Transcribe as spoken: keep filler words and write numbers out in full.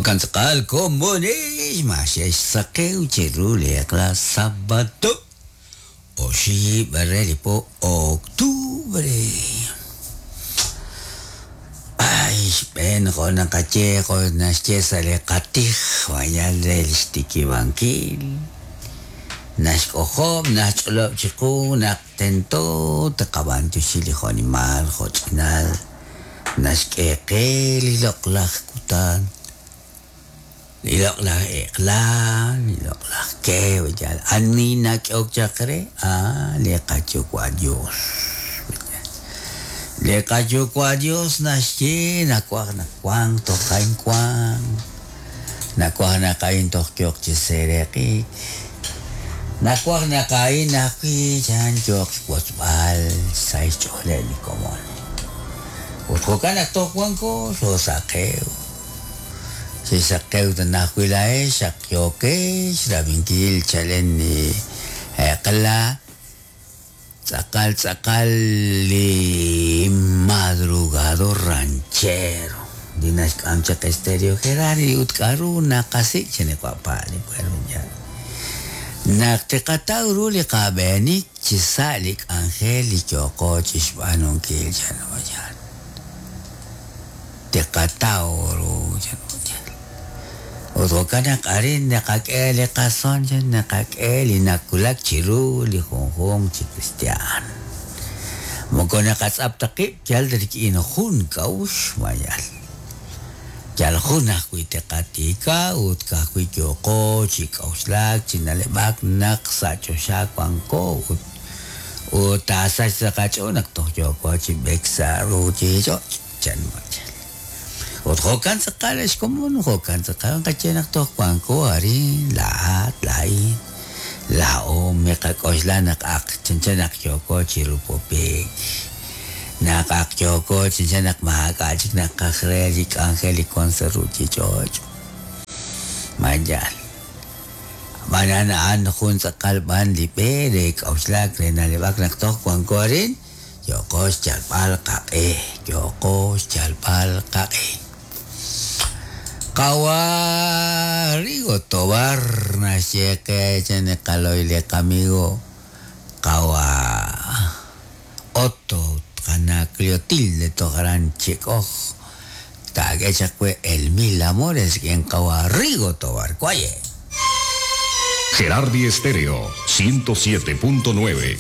Jo'kan tz'aqal komonix ma xe'xsaqew chiru li eq'la sábado oxib' re li po octubre. Ay, xb'een jo' naqaye jo' naxye sa' li qatij wayal re li xtikibankil naxk'ojob' naxch'olob' chiqu naq tento taqab'antuxi li jo'nimal jo'ch'inal naxk'e qe li loq'laj kutan li loq'laj eq'la li loq'laj ke yal ani nak'ehok chaq re ah li qayuwa' Dios li qayuwa' Dios naxye nawaj naq wank toj a'in wank nawaj naq a'in toj yooq chi seeraq'ik nawaj naq a'in ajwi' chan yooq xwotzb'al sa' xch'ooleb' li komon ut jo'kan naq toj wanko xoosaqew xisaqew tanajwi' laa'ex xaq yookex rab'inkil chalen li eq'la tz'aqal tz'aqal li madrugador ranchero li naxk'am chaq Estéreo Gerardi ut k'aru naqasik' chaniq'uapa' li pueblo naq tiqataw ru li qab'eenik chi sa' li k'anjel li yooqo chi xb'aanunkil chanoyal tiqataw ru chanoyal ut jo'kan naq arin naqak'e li qason naqak'e li nakulak chiru li junjunq chi cristian moko naqatz'ap ta qib' yal rik'in jun k'a'uxl mayal yal jun ajwi' tiqatika ut ka'ajwi' yooqo chi k'a'uxlak chi na'leb'ak naq sa' choxa wanko ut ut taasach sa' qach'ool naq toj yooko chi b'eek sa' ruuchich'och' chan mayal ut jo'kan tz'aqal ex komon jo'kan tz'aqal qaye naq toj wanko arin laa'at laa'in laa'o miqak'oxla naq aq chanchan naq yooko chi rupupik naq aq yooko chanchan naq maak'a' chik naqaj re li k'anjel li wank sa' ruuchich'och' mayal b'anan a'an jun tz'aqal b'an li b'e re k'a'uxlak re na'leb'ak naq toj wanko arin yooqo xyalb'al qaq'e yooqo xyalb'al qaq'e Qawa Rigo Tobar naxye qe chaniqaloy li qamigo qawa Otto qana Cleotilde tojaran chik'oj taak'e chaq we el mil amores k'in qawa Rigo Tobar kuaye Gerardi Estéreo ciento siete punto nueve.